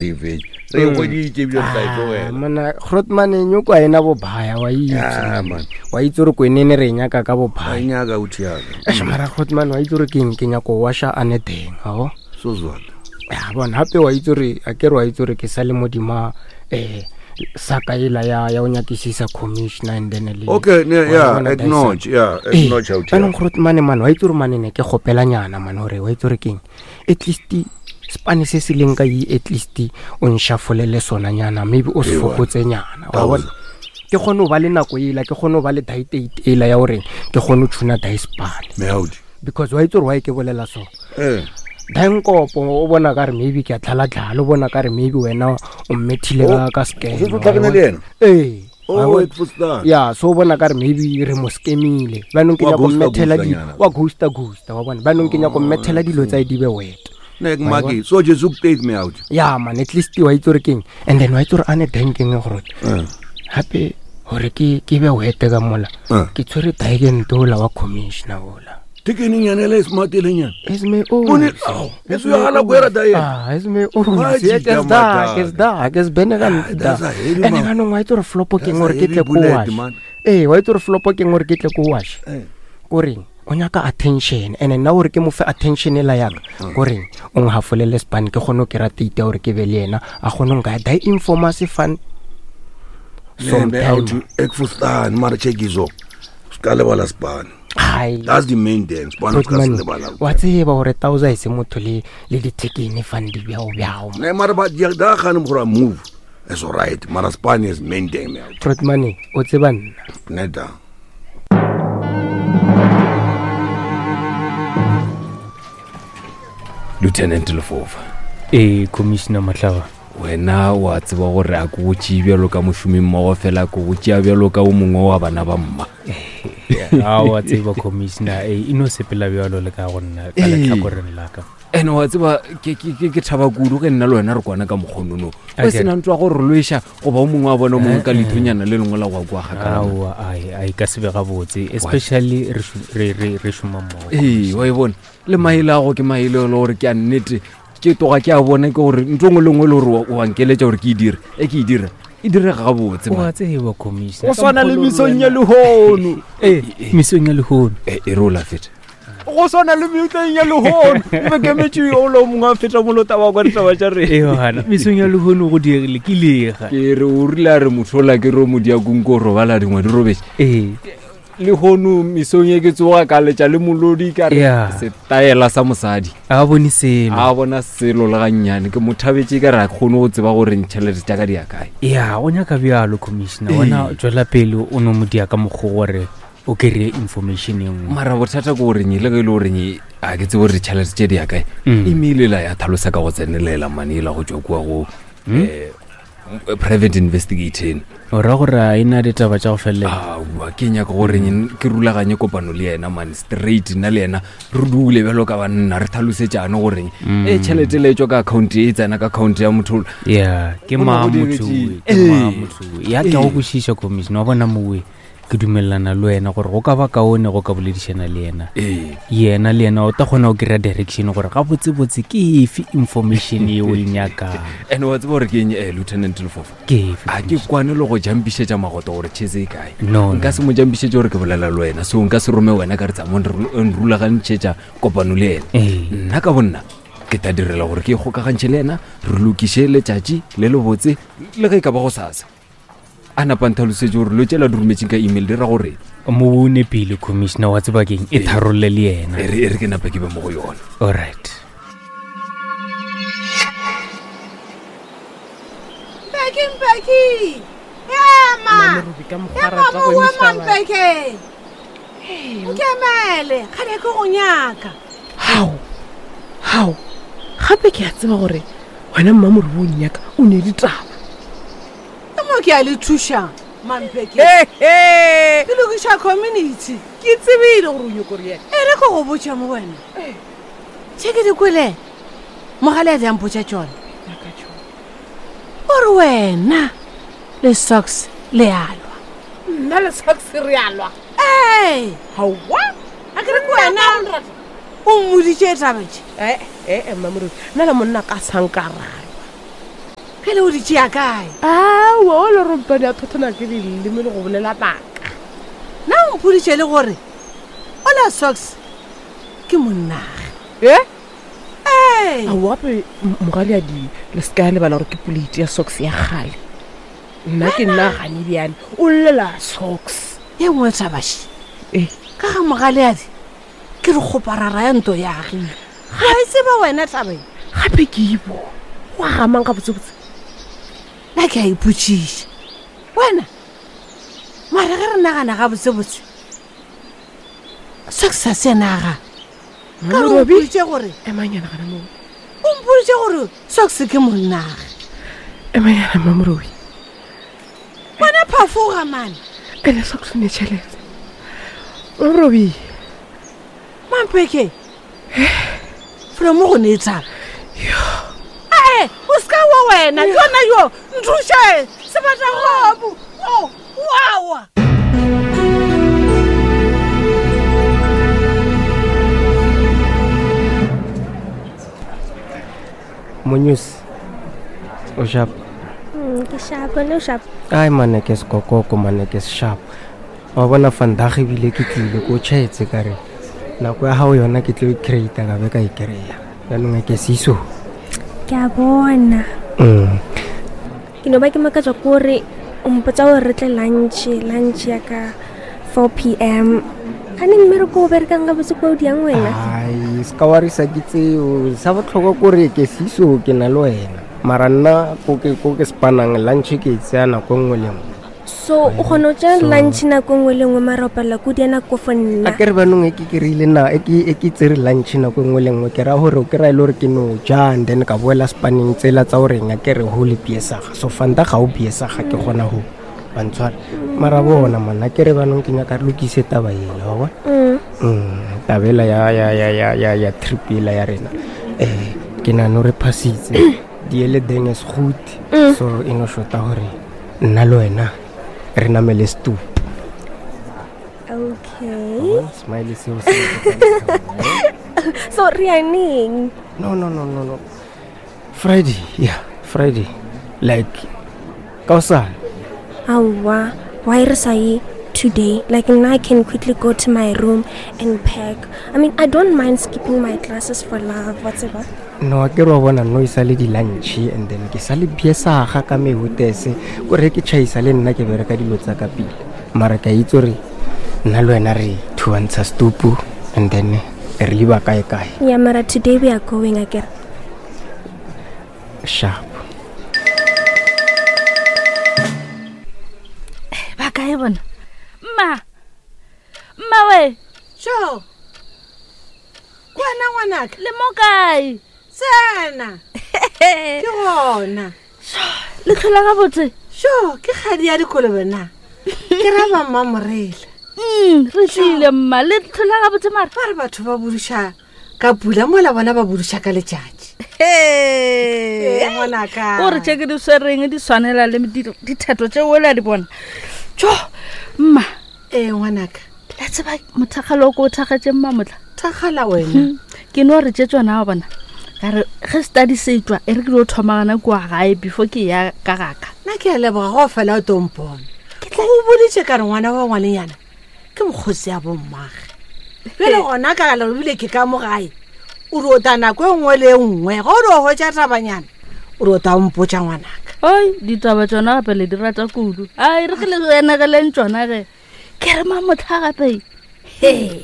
E fetše re e hweditše ebile re tla e tlogela. Mona Grootman nyoko a ena bobaya wa itse. Ah, man. Wa itse gore kwenene re e nyaka ka bobaya. A e nyaka o thiaka. Eish, mara Grootman wa itse gore ke eng ke nyako washa a ne teng ao. So zwata. Ya bona gape wa itse gore a ke re wa itse gore ke sa le modima eh saka ela ya ya o nyakisisa commissioner and then le Okay, ne, wa yeah, bona acknowledge, yeah, Ee, acknowledge how jaanong Grootman man wa itse gore mane ne ke gopelanyana man gore wa itse gore keng at least spane se se leng ka e at least o nshafolele sona nyana maybe o se fokotse nyana wa bona ke kgone go ba le nako ela ke kgone go ba le diet ela ya gore ke kgone go tshuna dispane because wa itse gore wa e ke bolela so eh. dankopo o bona ka re maybe ke a tlhalatlhala o bona ka re maybe wena o mmethile ka ka scam ee Oh, it was that. ya so o bona ka re maybe re mo scamile banong ke Wa nyako ghosta mmethela ghosta di nyana. wa ghosta ghosta wa bona banong ke nyako mmethela dilo tsa e di be wet Nek maki. So just take me out. ya man at least wa itse gore keng and then wa itse gore a ne dankeng gore Eh. gape gore ke ke be wete ka mola Eh. ke tshwere daekente ola wa commissioner ola Tekeni nyana le smart le nyana. Esme Bone, ao, eso ya gana kwera da yena. Ah, esme o Wa se jita ke da madaka. ke da ke se bene ka Ah, da that's a heavy ene man. ka nong wa itse gore flopo ke That's gore a ke tle heavy ko bullet, wash man. ee wa itse gore flopo ke gore ke tle ko wash Eh. koreng o nyaka attention and nna gore ke mo fe attention e la yaka koreng o nghafolele span ke kgone go kry-a tate ya gore ke be le yena a kgone go nka die informase fan Lembe out sometime ekfustan mara check izo. Ska lebala span. Hai. That's the main thing. Span ska se Grootman, lebala. wa tseba gore tausa e se motho le le dithekene fan di bjao bjao Ne mara ba dia da gane gore move. It's all right. Mara span is main thing me out. Grootman o tseba nna Neta. Lieutenant Lefofa. Ee, Commissioner Mahlaba. Wena wa tseba gore a ke go tšee bjalo ka mošomi mmogo fela ke go tšea bjalo ka o mongwe wa bana ba mma. A wa tseba Commissioner, ee, e no sepela bjalo le ka go nna ka Ee. lehlakoreng la ka. Ene wa tseba ke ke ke ke thaba kudu ge nna le wena re kwana ka mokgonono. A O ke- sena ntwa go re lweša goba o mongwe wa bona o mongwe ka Eh, eh. leithonyana le lengwe la go kwa kgakala. Aowa, ai, ai ka se be gabotse, especially re šu- re re re šoma mmogo. Ee, wa e bona le maele a go ke maele e le gore ke a nnete ke toga ke a bona ke gore ntho e nngwe le nngwe e le gore wa- wa nkeletša gore ke e dire e ke e dira e direga gabotse Wa man. tseba Commissioner. Go swana le mesong ya lehono. Ee, mesong ya lehono. E e re o la feta. Go swana le metleng ya lehono e be kemetše o le o mongwe a feta mo lotaba kwa ditaba tša rena. Ee, gana mesong ya lehono go diegile ke lega. Ke re o rile a re motho ola ke re o modiakong ko robala dingwe di robetše. Ee. Lehono mesong e ke tsoga ka letša le molodi ka re Yeah. setaela sa mosadi. A bone selo. A bona selo le gannyane ke mo thabetše ka re a kgone go tseba gore ntšhelete tša ka di ya kae. Ya, o nyaka bjalo Commissioner. Ee. Wena tswela pele o no mo dia ka mokgwa gore o kry-e information e nngwe. Mara bothata ke goreng le ge e le goreng a ke tsebe gore ditšhelete tše di ya kae. Mm. Email ela ya tlhalosa ka go tsenelela mane ela go tšwa kua go eh, private investigator. O ra gore a e na ditaba tša go felela. Aowa ke nyaka gore ke rulaganye kopano le yena man straight nna le yena re dule bjalo ka banna re tlhalosetšane goreng Mm. e tšhelete le e tšwa ka account e tsena ka account ya motho Ya, ke Go na mang go motho diretše- owe, ke mang Ee. motho owe. Ya ke a go Ee. kwešiša Commissioner, wa bona mowe ke dumelelana le wena gore go ka ba kaone go ka boledišana le yena. Ee. Yena le yena o tla kgona go kry-a direction gore gabotsebotse ke efe information ye o e nyakang. And wa tseba gore ke eng eh, Lieutenant Lefofa? Ke efe, A ke kwane le go jampišetša magoto gore chese e kae. No, Nka se mo jampišetše gore ke bolela le wena, so nka se rome wena ka re tsamong nrulagantšhetša kopano le yena. Ee. Nna ka bonna ke tla direla gore ke ikgokagantšhe le yena, re lokiše letšatši le lebotse le ge e ka ba go sasa. A napa ntlhalosetše gore lo tšela di rometšeng ka email di ra gore Mo o nepile Commissioner, wa tseba keng e tharolle le yena. E re e re ke napa ke be mo go yona. Alright. Mpeki, Mpeki! Ema! Ema mo ema Mpeki! Nkemele, kgale ke go nyaka. Hao, hao, gape ke a tseba gore wena mmamorobo o nnyaka o ne ditaba. Ke mo ke a le thušang, Mampeki. Ke lokiša community. Ke tsebile gore o nyako re yena. E re ke go botša mo wena. Tše ke di kwele, mogale a di a mpotša tšona. O re wena le Socks le a lwa. Nna le Socks re a lwa? Ee. Haowa. A ke re ke wena o mmoditše taba tše. Ee, ee, mmamorobi, nna le monna ka sanka ra lwa. Ge le o di tšea kae? Aowa, o le rompane a thothona ke leleme le go bolela maaka. Na o mpoditše le gore ola Socks ke monnage. E? Ee. Aowa gape mogaleadi le se ka lebala gore ke poleiti ya Socks ya kgale. Nna ke nna gane bjale o llela Socks. Ye nngwe thabaši. E. Ka ga mogaleadi ke re kgoparara ya nto ya agile. Ga e tseba wena taba e. Gape ke ibo. Go agamang gabotsebotse? Nna ke a ipotšiša. Wena, mara ge re nagana gabotsebotse, Socks a se yena aga. Ka re o mpoditše gore. Emanyana gana moo. O mpoditše gore Socks ke monnage. Emanyana Mmamorobi. Wena phafoga mane. Ene Socks o ne tšhelete. Mmamorobi. Mampeke. Felo mo go ne tshaba. Ae, o se ka wa wena, yona yo, nthuše, sebata gobu. Oh, wawa. Monyusi o sharp. Ke sharp, wena o sharp. Ai mane ke sekokoko mane ke sharp. Wa bona vandag ebile ke tlile ko tšhaetse ka re nako ya gago yona ke tlo e creata ka be ka e kry-a. Jaanong ke siso. Ke a bona. Ke no ba ke makatšwa ke gore o mpotsa gore re tle lunch, lunch ya ka 4 p.m. Gane mmereko o berekang gabotse kwa o diang wena? Ai, se ka wa risa ke tseo. Sa botlhokwa kore ke siso ke na le wena. Mara nna ko ke ko ke spanang lunch ke e tseya nako e nngwe le nngwe. So o kgona go tšea So lunch nako nngwe le nngwe mara o palela ko dia nako for nna. A ke re banong e ke kry-ile na e ke e ke tsere lunch nako nngwe le nngwe ke ra gore o kry-a e le gore ke no ja and then ka boela spaneng tsela tsa goreng a ke re ho le biesaga so fanta ga o biesaga ke kgona go bantshwara mara bona monna ke re banong ke nyaka re lokise taba ela wa bona. Taba ela ya ya ya ya ya ya trip ela ya rena ke nagana gore phasitse di ele deng is good so e no shota gore nna le wena re namele stoop. Okay. Smile seo se. So re ya neng? No, no, no, no, no. Friday, yeah, Friday. Like ka hosane. Aowa, why re sa ye today? Like now I can quickly go to my room and pack. I mean, I don't mind skipping my classes for love, whatever. No, ke re wa bona no e sa le di-lunch and then ke sa le biesaga ka mehutese kore ke tšhaisa le nna ke bereka dilo tsa ka pele mara ke a itse gore nna le wena re thuantsha stupu and then re liba kae kae. Yeah, mara today we are going akere. Sharp. Ba kae bona? Mma. Mma we. Sure. Wena ngwanaka. Le mo kae? Tsena. Ke gona. Le tlhola gabotse? Sure, ke kgadi ya dikolobe na. Ke ra ba mmamorela. Re tlile mma, le tlhola gabotse mara. Ba re batho ba buduša ka pula mola bona ba buduša ka letšatši. Hey. Ee, ngwanaka. O re tše ke di swereng di swanela le dithetho tše o la di bona. Tjo, mma. Ee, ngwanaka. La tseba mothakgalo o ko o thakgetše mma motla. Thakgala wena. Ke no re tše tsona wa bona. Ka re ge study se tšwa e re ke dio thoma gana kua gae before ke ya ka gaka. Nna ke a leboga go fela o tompone. Ke tla go boditše ka re ngwana wa ngwanenyana ke mokgosi ya bommage. Bjale gona ka le bile ke ka mo gae. O re o ta nako e nngwe le e nngwe ge o re o hwetša tabanyana o re o ta o mpotša ngwanaka. Oi, ditaba tšona gape le di rata kudu. Ai, re ke le enegeleng tšona ge. Ke re mamotlha gape. He,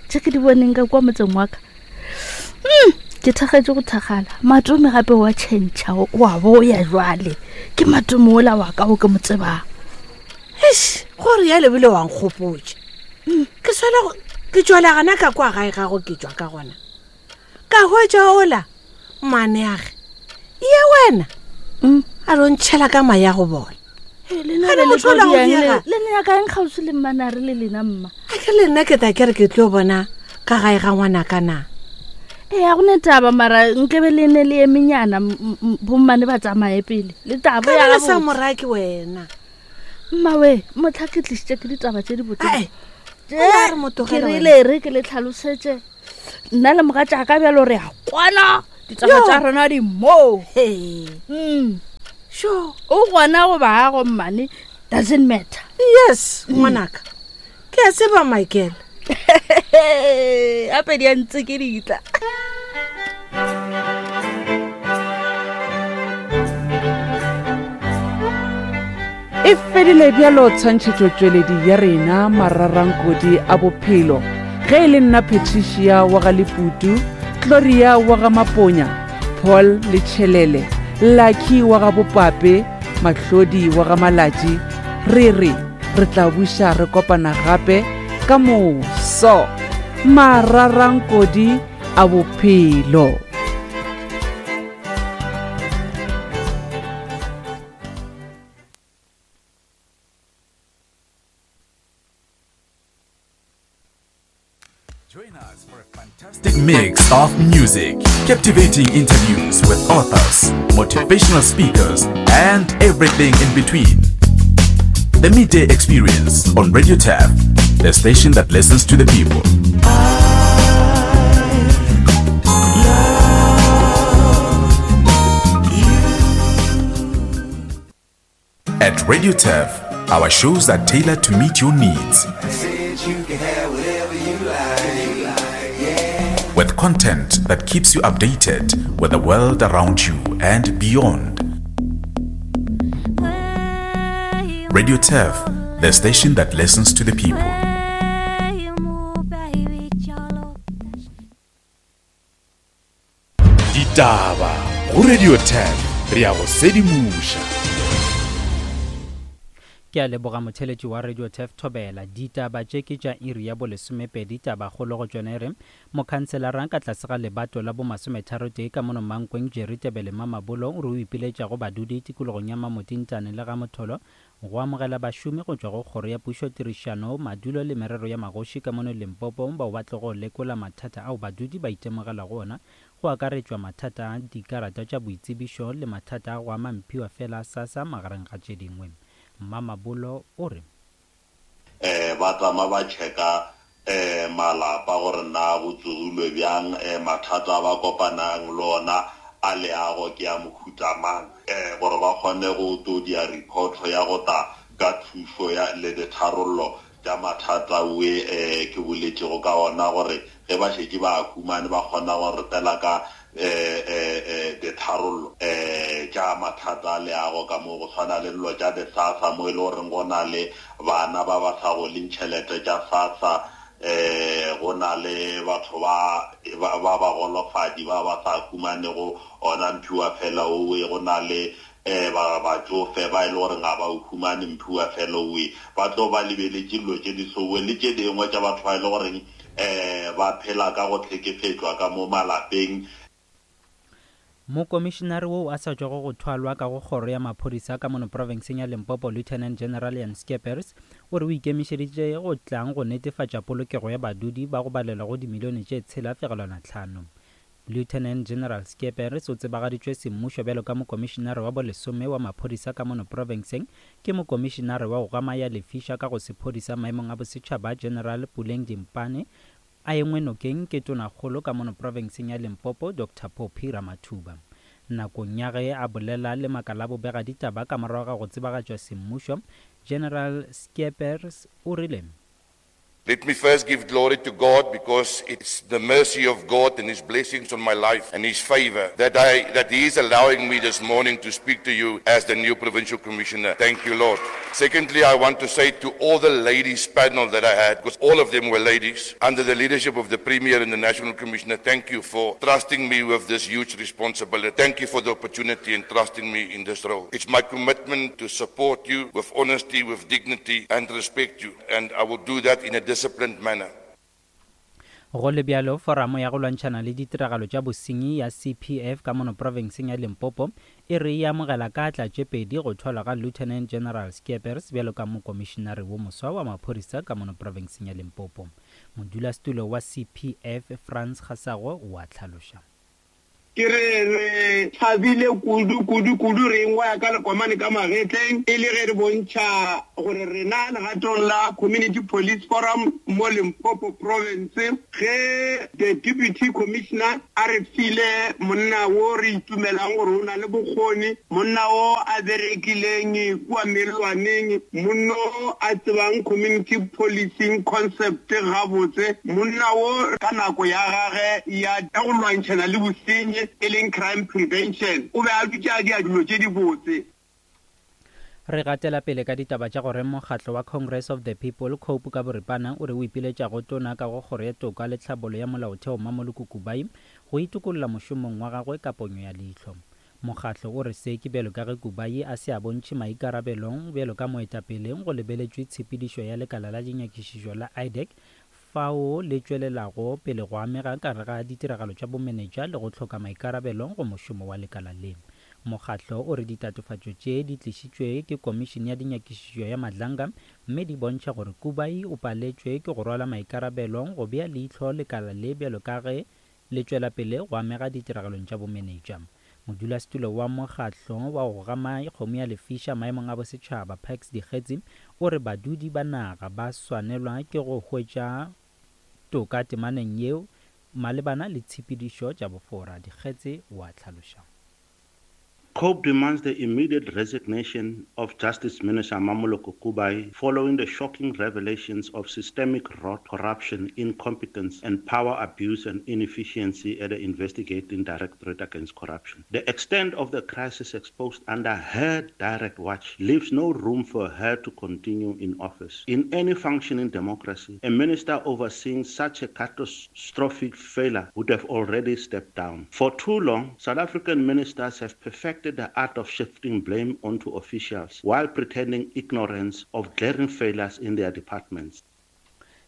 tše ke di boneng ka kwa motseng wa ka. Ke thakgetše go thakgala. Matome gape wa tšhentšha, wa boya jwale. Ke matome ola wa ka o ke mo tsebang. Eish, gore ya lebile wa nkgopotša. Ke swela go, ke tšwela gana ka kwa gae gago ke tšwa ka gona. Ka hwetša ola, mmaneage. Ye wena. A re o ntšhela ka maya go bola. Hey, le nna Gane be le motho ola tlo go diang diega. le nna ya kaeng kgauswi le mmanare le lena mma? A ke le nna ke tla ke re ke tlo bona ka gae ga ngwanaka na? Ee, ga go ne taba, mara nkebe le ne le emenyana, bommane ba tsamaye pele. Le taba Ka ya le sa gabotse. morake wena. Mma we, motlha ke tlišitše ke ditaba tše di botse. Ae, Tše, o la re mo tlogele ke wena. rile re ke le tlhalosetše. Nna le mogatšaka bjalo re a kwana. Ditaba Yo. tša rena di moo. Hei. Sure. O gona goba ga go mmane doesn't matter. Yes, ngwanaka. Ke a tseba Michael. Gape di a ntse ke ditla. E fedile bjalo tshwantšhetšotšweledi ya rena mararankodi a bophelo ge e le nna Patricia wa ga Leputu, Gloria wa ga Maponya, Paul le Tšhelele, Lucky wa ga Bopape, Mahlodi wa ga Malatši, re re re tla buša re kopana gape ka moso. Mararankodi a bophelo. Join us for a fantastic mix of music, captivating interviews with authors, motivational speakers, and everything in between. The Midday Experience on Radio TAF, the station that listens to the people. At Radio TAF, our shows are tailored to meet your needs. With content that keeps you updated with the world around you and beyond. Radio TAF, the station that listens to the people. Ditaba go Radio 10 re ya go sedimoša. Ke a leboga motheletši wa Radio Turf Thobela. Ditaba tše ke tša iri ya bolesomepedi. Tabakgolo go tšona e re, Mokhanselara ka tlase ga lebato la bomasometharotee ka mono Mankweng Jerry Tebele Mamabolo o re o ipiletša go badudi tikologong ya Mamotintane le Gamotholo go amogela bašomi go tšwa go Kgoro ya Pušo Tirišano, Madulo le Merero ya Magoši ka mono Limpopo bao ba tlogo lekola mathata ao badudi ba itemogelago ona go akaretšwa mathata a dikarata tša boitsebišo le mathata a go ama mphiwa fela a SASSA magareng ga tše dingwe. Mmamabolo o re. um ba tama ba checka um malapa gore na go tsogilwe bjang um mathata a ba kopanang le ona a leago ke a mohuta mang um gore ba kgone go to dia report ya go ta ka thušo ya le ditharollo tša mathata we um ke boletšego ka ona gore ge ba šetše ba a humane ba kgona go re tela ka um um ditharollo um tša mathata a leago ka mo go swana le dilo tša di-SASSA mo e le goreng go na le bana ba ba sa goleng tšhelete tša SASSA um go na le batho ba ba bagolofadi ba ba sa humanego ona mphiwa fela owe go na le um ba batšofe ba e le goreng ga ba o humane mphiwa fela owe ba tlo ba lebeletše dilo tše di sowe le tše dingwe tša batho ba e le goreng um ba phela ka go hlekefetšwa ka mo malapeng. Mokomišinare woo a sa tšwago go thwalwa ka go kgoro ya maphodisa ka mono profenseng ya Limpopo Lieutenant General Jan Scheepers o re o ikemišeditše go tlang go netefatša polokego ya badudi ba go balelwa go dimilione tše 7.5. Lieutenant General Scheepers o tsebagaditšwe semmušo bjalo ka mokomišinare wa bolesome wa maphodisa ka mono profenseng ke mokomišinare wa go gama ya lefiša ka go sephodisa maemong a bosetšhaba General Puleng Dimpane a engwe nokeng ke tonakgolo ka mono profenseng ya Limpopo Doctor Phophi Ramathuba. Nakong ya ge a bolela le makala a bobegaditaba ka morago ga go tsebagatšwa semmušo, General Scheepers o rile, Let me first give glory to God because it's the mercy of God and His blessings on my life and His favor that I that He is allowing me this morning to speak to you as the new provincial commissioner. Thank you, Lord. Secondly, I want to say to all the ladies panel that I had, because all of them were ladies, under the leadership of the Premier and the National Commissioner, thank you for trusting me with this huge responsibility. Thank you for the opportunity and trusting me in this role. It's my commitment to support you with honesty, with dignity, and respect you and I will do that in a disciplined manner. Go le bjalo, Foramo ya go lwantšhana le ditiragalo tša bosenyi ya CPF ka mono profenseng ya Limpopo e re e amogela ka atla tše pedi go thwalwa ga Lieutenant General Scheepers bjalo ka mokomišinare wo moswa wa maphodisa ka mono profenseng ya Limpopo. Modulasetulo wa CPF, Frans Kgasago o a hlaloša. Ke re re thabile kudu, kudu, kudu re engwaya ka lekomane ka magetleng e le ge re bontšha gore rena legatong la Community Police Forum mo Limpopo Province ge the Deputy Commissioner a re file monna wo re itumelang gore o na le bokgoni, monna wo a berekileng kua mellwaneng, monno a tsebang community policing concept gabotse, monna wo ka nako ya gage ya go lwantšhana le bosenyi e leng crime prevention o be a dutše a dia dilo tše dibotse. Re gatela pele ka ditaba tša gore mokgatlo wa Congress of the People, Cope ka boripana, o re o ipiletša go Tona ka go Kgoro ya Toka le Tlhabolo ya Molaotheo Mmamoloko Kubayi go itokolla mošomong wa gagwe ka ponyo ya leihlo. Mokgatlo o re se ke bjalo ka ge Kubayi a se a bontšhe maikarabelo bjalo ka moetapele go lebeletšwe tshepedišo ya lekala la dinyakišišo la IDAC fao le tšwelelago pele go amega ka gare ga ditiragalo tša bomenetša le go hloka maikarabelo go mošomo wa lekala le. Mokgatlo o re ditatofatšo tše di tlišitšwe ke Komišene ya Dinyakišišo ya Madlanga mme di bontšha gore Kubayi o paletšwe ke go rwala maikarabelo go bea leihlo lekala le bjalo ka ge le tšwela pele go amega ditiragalong tša bomenetša. Modulasetulo wa mokgatlo wa go gama kgomo ya lefiša maemong a bosetšhaba, Pax Dikgetsi, o re badudi ba naga ba swanelwa ke go hwetša toka temaneng yeo malebana le tshepedišo tša bofora. Dikgetsi o a hlaloša. COPE demands the immediate resignation of Justice Minister Mamoloko Kubayi following the shocking revelations of systemic rot, corruption, incompetence, and power abuse and inefficiency at the Investigating Directorate Against Corruption. The extent of the crisis exposed under her direct watch leaves no room for her to continue in office. In any functioning democracy, a minister overseeing such a catastrophic failure would have already stepped down. For too long, South African ministers have perfected the art of shifting blame onto officials while pretending ignorance of glaring failures in their departments.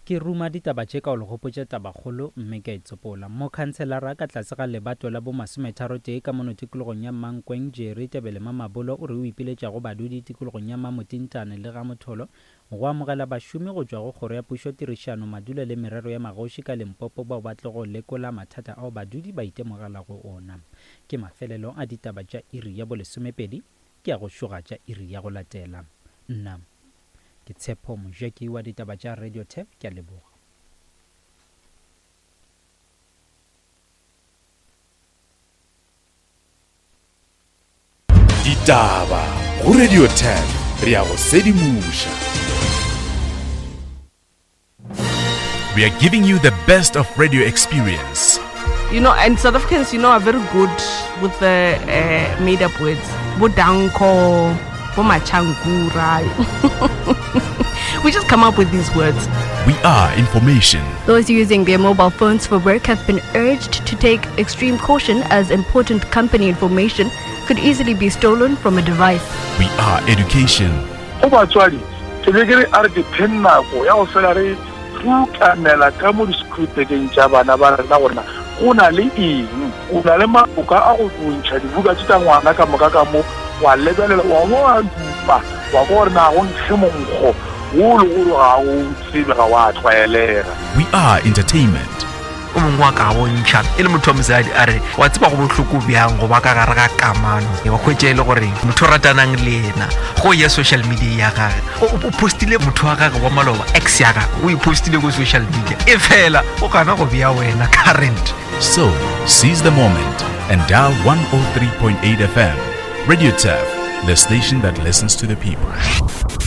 Ke ruma ditaba tše ka go le gopotša tabakgolo mme ke a e tsopola. Mokhanselara ka tlase ga lebato la bomasometharotee ka mono tikologong ya Mankweng, Jerry Tebele Mamabolo o re o ipiletša go badudi tikologong ya Mamotintane le Gamotholo Go amogela bašomi go tšwa go Kgoro ya Pušo Tirišano, Madulo le Merero ya Magoši ka Limpopo bao ba tlogo lekola mathata ao badudi ba itemogelago ona. Ke mafelelo a ditaba tša iri ya bolesomepedi, ke ya go šoga tša iri ya go latela. Nna ke Tshepo Mojeki wa ditaba tša Radio Turf, ke a leboga. Ditaba go Radio 10 re ya go sedimoša. We are giving you the best of radio experience. You know, and South Africans, you know, are very good with the uh, made up words. Bodanko, Bomachankura. we just come up with these words. We are information. Those using their mobile phones for work have been urged to take extreme caution as important company information could easily be stolen from a device. We are education. Go batswadi, ke be ke re a re dipheng nako ya go fela re rutamela ka mo di-screwbekeng tša bana ba rena gore na go na le eng. O na le maboka a go ntšha dibuka tše tša ngwana ka moka ka mo, wa lebelela, wa bo wa dupa, wa kwa gore na go nkge monkgo wo le gore ga o tsebe, ga wa tlwaelega. We are entertainment. O mongwe wa ka bontšha e le motho wa mosadi a re wa tseba go bohloko bjang go ba ka gare ga kamano wa hwetša e le gore motho o ratanang le yena go ya social media ya gage o postile motho wa gage wa maloba ex ya gage o e postile ko social media e fela o gana go bea wena current So, seize the moment and dial 103.8 FM. Radio Turf, the station that listens to the people.